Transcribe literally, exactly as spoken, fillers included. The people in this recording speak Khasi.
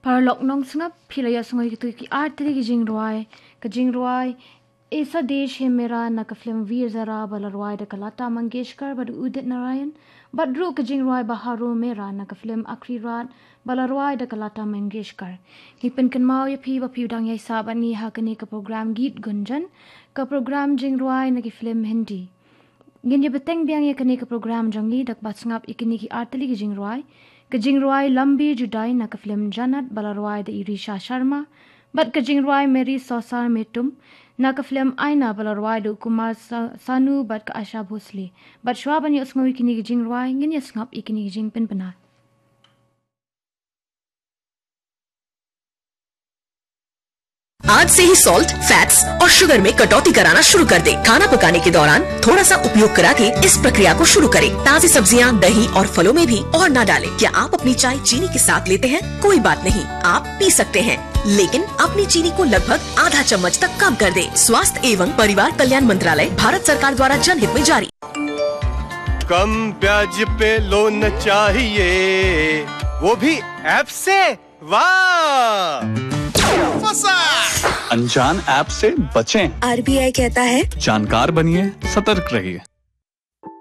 Paralok nongsngap, phi la ïohsngew ïa kito ki artylli ki jingrwai. Ka jingrwai Aisa Desh Hai Mera na ka film Veer Zara ba la rwai da ka Lata Mangeshkar bad u Udit Narayan, bad ruh ka jingrwai Baharon Mera na ka film Aakhri Raat ba la rwai da ka Lata Mangeshkar. Ngi pynkynmaw ïa phi ba phi dang ïaisah bad ngi ha kane ka program Geet Gunjan, ka program jingrwai na ki film Hindi. Ngin ïa bteng biang ïa kane ka program jong ngi da kaba sngap ïa kine ki artylli ki jingrwai. Ka jingrwai Lambi Judai na ka film Jannat ba la rwai da i Risha Sharma, bad ka jingrwai Meri Sausar Mein Tum na ka film Aina ba la rwai da u Kumar Sa-, Sanu bad ka Asha Bhosle. Bad shuwa ban ïohsngew ïa kine ki jingrwai, ngin ïa sngap ïa kine ki jingpynbna. आज से ही सॉल्ट, फैट्स और शुगर में कटौती कराना शुरू कर दें। खाना पकाने के दौरान थोड़ा सा उपयोग करा के इस प्रक्रिया को शुरू करें। ताज़ी सब्जियां, दही और फलों में भी और ना डालें। क्या आप अपनी चाय चीनी के साथ लेते हैं? कोई बात नहीं, आप पी सकते हैं, लेकिन अपनी चीनी को लगभग आधा चम्मच तक कम कर दें। स्वास्थ्य एवं परिवार कल्याण मंत्रालय, भारत सरकार द्वारा जनहित में जारी। कम ब्याज पे लोन चाहिए, वो भी ऐप से? वाह! फंसा। अनजान ऐप से बचें। आरबीआई कहता है, जानकार बनिए, सतर्क रहिए।